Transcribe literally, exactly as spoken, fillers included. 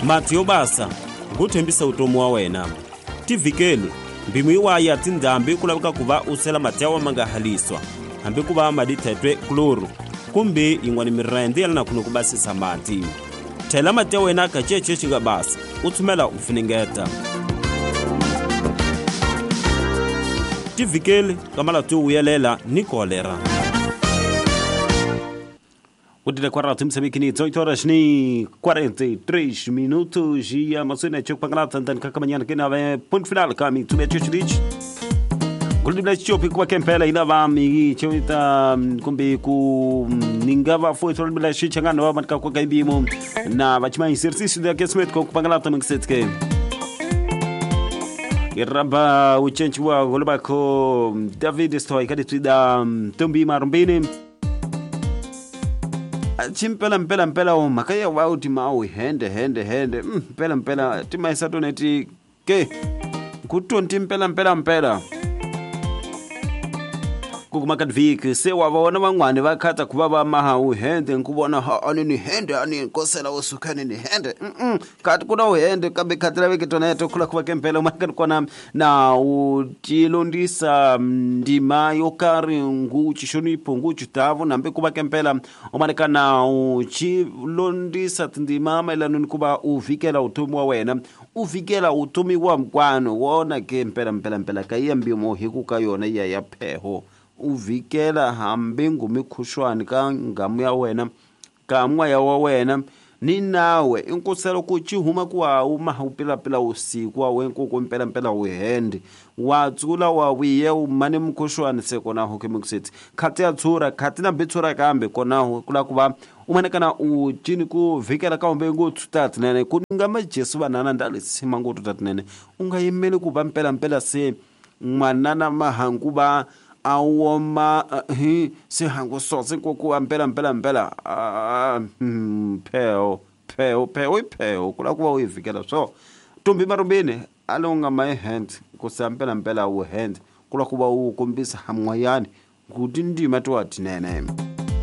Mati yo basa ku tshembisa utomi wa wena. Tivhikeli mpimo yiwa ya tindhambi ku laveka ku va u sela mati ya wa ma nga haliswa hambi ku va madi thetwe kloro kumbe yin'wana mirende ya lana kuno ku basisa mati. Thela mati ya wena ka cece xi nga basa u tshumela u funengeta. Tivhikeli ka malati yo vuyelela ni kolera. Udile kwa ratu msemikini dezoito horas ni quarenta e três minutos e a Amazônia tinha que pagar tanto que que na ponto final kami tume tchutchich Gulibla chopi kwa kempela ila va mi chota kumbe ku ningava foi tolibla shichangana wa matka kwa kaibimo na vachima exercício de aquecimento com pangala também que se Iraba uchenchi wa golbako David Stoy kaditida Tumbi Marumbini Chimpela mpela mpela o makaya wa utima o hende hende hende mpela mpela tima isatoneti ke kutonti mpela mpela mpela kukumakadviki se wa vona van'wani va khata ku va va maha u hende nkuvona ha ani ni hende ani nkosela wo sukani ni hende mm kati kuna u hende kambe khati laveke toneto khula ku va kempela makani kona na u tilondisa ndima yo karhi ngu xixonipho ngu xitavu nambe ku va kempela u manekana u chilondisa tindima mayelana ni ku va u vikela utomi wa wena u vikela utomi wa mkwano wona ke mpela mpela mpela ka ya mbimo hi ku ka yona ya ya pheho u vikela hambi ngumikhuxwani ka ngamu ya wena ka moya wa wena ni nawe inkuselo ku ci huma ku wa u maha u pilapila usiku wa wenku ku mpela mpela u hende wa tsula wa wiye u mane mukhuxwani se kona ho kemikuseti khati ya tshura khati na bitsura kambe kona ho kula ku va u manekana u cini ku vikela ka umbe nguthu tatinene ku nga majesu vanana ndalisima nguthu tatinene u nga yimeli ku va mpela mpela se mwanana mahangu va awoma hi se hangu sotse ko ku mpela mpela mpela pheo pheo pheo pheo kula ku va u vikela so Tumbi Marumbini alonga my hand ku sa mpela mpela u hand kula ku va u kombisa hamwayani ku tindima to atinene.